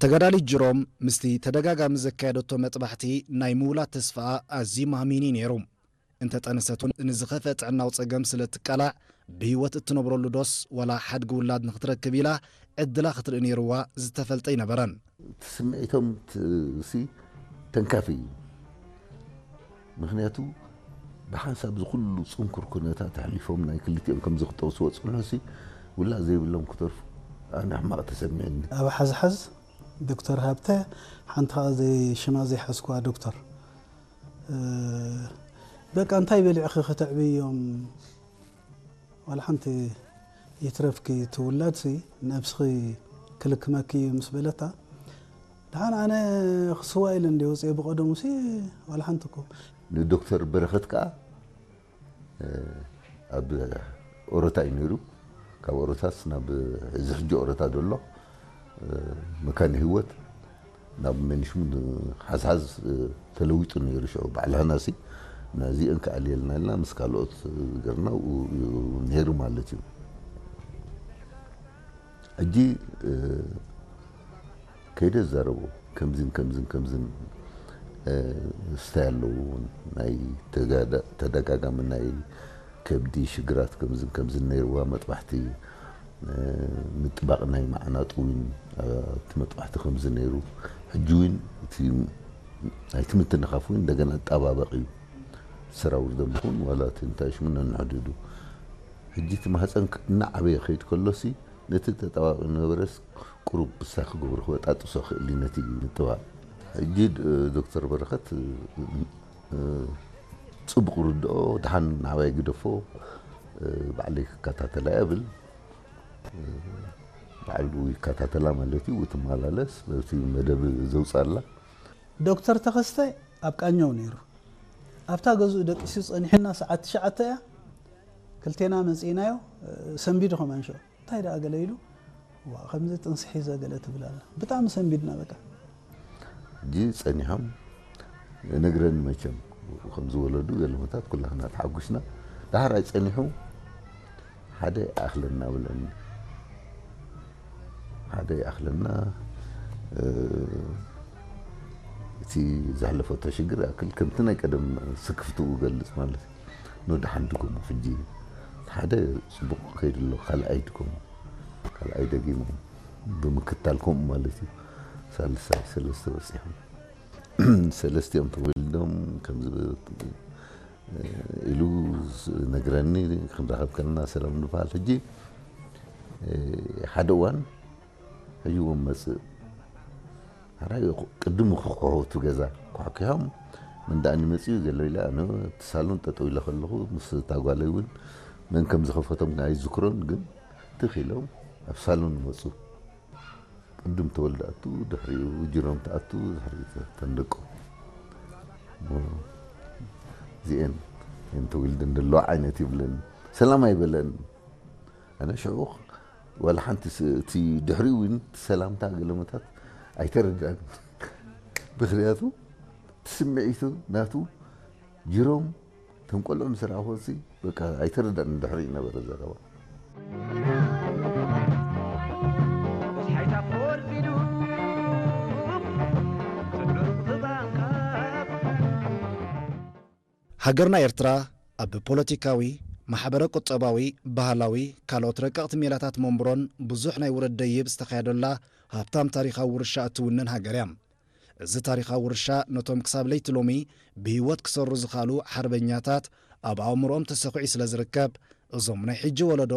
ተጋዳሊት ጅሮም ምስቲ ተደጋጋሚ ዘካየደቶ መጥባሕቲ ናይ ምውላድ ተስፋኣ ኣዝዩ ማህሚኒ ነይሩ። እንተጠነሰት እውን ንዝኸፍአ ጥዕናዊ ጸገም ስለ እትቃላዕ ብህይወት እትነብረሉ ዶስ ዋላ ሓድጊ ውላድ ንኽትረክብ ኢላ ዕድላ ክትርኢ ነይርዋ ዝተፈልጠ ኣይነበረን። እቲ ስምዒቶም ሲ ተንካፊ እዩ። ምኽንያቱ ብሓንሳብ ዝኹሉ ጽንኩር ኩነታት ኣሕሊፎም ናይ ክልቲኦም ከም ዝኽጠው ዝወጽንሑ ሲ ውላድ ዘይብሎም ክተርፉ ኣነ ሕማቕ ተሰሚዕኒ። ኣብ ሓዝሓዝ ዶክተር ሃብተ ሓንቲ ኸዓ ዘይ ሽማ ዘይሓዝኩዋ ዶክተር በቃ እንታይ በሊዕኺ ከተዕብዮም ዋላ ሓንቲ ይትረፍኪ ትውላድ ሲ ነብስኺ ክልክመኪ እዩ ምስ በለታ ደሓን ኣነ ክስዋ ኢለ እንዲ ወፅየ ብቀደሙ ሲ ዋላ ሓንቲ እኮ ንዶክተር በረኸት ከዓ ኣብ ኦሮታ እዩ ነይሩ። ካብ ኦሮታስ ናብ እዚ ሕጂ ኦሮታ ዘሎ መካነ ህይወት ናብ መንሽሙ ሓዝሓዝ ተለዊጡ ነይሩ። ሽዑ ባዕልህና ሲ ናዚአን ክኣልየልና ኢልና ምስ ካልኦት ገርና ነይሩ ማለት እዩ። ሕጂ ከይደ ዛረቦ ከምዝን ከምዝን ከምዝን ስታይ ኣለዎ ናይ ተደጋጋሚ ናይ ከብዲ ሽግራት ከምዝን ከምዝን ነይርዋ መጥባሕቲ ምጥባቕ ናይ መዓናጡ እውን ኣብቲ መጥባሕቲ ከምዚ ነይሩ ሕጂ እውን እቲ ናይቲ ምትንኻፍ እውን እንደገና ኣጣባበቕ እዩ ሰራውር ደምኹን ዋላ እቲ እንታይ ሽሙ ነንሕድዱ ሕጂ እቲ ማህፀን እናዓበየ ከይድ ከሎሲ ነቲ ተጣባቂ ነበረስ ቁሩብ ብሳ ክገብሮ ክበጣጥሶ ክእል እዩ ነቲ ምጥባቅ። ሕጂ ዶክተር በረኸት ፅቡቅ ርድኦ ድሓን ናባይ ግደፎ ባዕለይ ክከታተላ እብል። ባዕሉ ይከታተላ ማለት እዩ ትመላለስ በቲ መደብ ዘውፅኣላ። ዶክተር ተኸስተ ኣብ ቃኘው ነይሩ። ኣብታ ገዝኡ ደቂሱ ፀኒሑና ሰዓት ትሽዓተ እያ ክልቴና መፂእናዮ ሰንቢዱ ከማን ሽዑ እንታይ ደኣ ገለ ኢሉ ዋ ከምዚ ጥንሲ ሒዘ ገለ ትብል ኣላ ብጣዕሚ ሰንቢድና በቃ ሕጂ ፀኒሖም ነግረኒ መቸም ከም ዝወለዱ ገለመታት ኩላህና ተሓጉስና ዳሕራይ ፀኒሑ ሓደ ይኣኽለና ብለኒ ሓደ ይኣኽለና እቲ ዘሕለፈቶ ሽግር ይኣክል ከምቲ ናይ ቀደም ስክፍትኡ ገልፅ ማለት እዩ ንወድሓን ድገሙ ሕጂ ሓደ ፅቡቕ ከይዱ ኣሎ ካልኣይ ድገሙ ካልኣይ ደጊሙ ብምክታል ከምኡ ማለት እዩ ሳልሳይ ሰለስተ በፂሖም ሰለስቲኦም ተወሊዶም ከምዚ ኢሉ ነግረኒ ክንራኸብ ከለና ሰላም ንበሃል ሕጂ ሓደ እዋን ሕጂ እውን መፅእ ሕራይ ቅድም ክኩሑ እቲ ገዛ ኳሕኪሖም መን ደኣ ይመፅኡ ገለ ኢለ ኣነ እቲ ሳሎን ጠጠው ኢለ ከለኹ ምስ እታ ጓለይ እውን መን ከም ዝኸፈቶም ኣይዝክሮን ግን ትኽ ኢሎም ኣብ ሳሎን መፁ ቅድም ተወልደ ኣቱ ድሕሪኡ ጅሮም ተኣቱ ድሕሪ ተንደቆ እዚኤን እየን ተወልደን ዘለዋ ዓይነት ይብለን ሰላም ኣይበለን ኣነ ሽዑ ዋላ ሓንቲ እቲ ድሕሪኡ እውን ሰላምታ ገለመታት ኣይተረዳን ምክንያቱ እቲ ስምዒቱ ናቱ ጅሮም እቶም ቆልዑ ምስ ረኣኹ በቃ ኣይተረዳን ድሕሪኡ ነበረ ዘረባ ሃገርና ኤርትራ ኣብ ፖለቲካዊ፣ ማሕበረ ቁጠባዊ፣ ባህላዊ፣ ካልኦት ረቀቕቲ ሜላታት መንብሮን ብዙሕ ናይ ውረድ ደይብ ዝተኻየደላ ሃብታም ታሪኻዊ ውርሻ እትውንን ሃገር እያ። እዚ ታሪኻዊ ውርሻ ነቶም ክሳብ ለይቲ ሎሚ ብህይወት ክሰሩ ዝኸኣሉ ሓርበኛታት ኣብ ኣእምሮኦም ተሰኺዑ ስለ ዝርከብ እዞም ናይ ሕጂ ወለዶ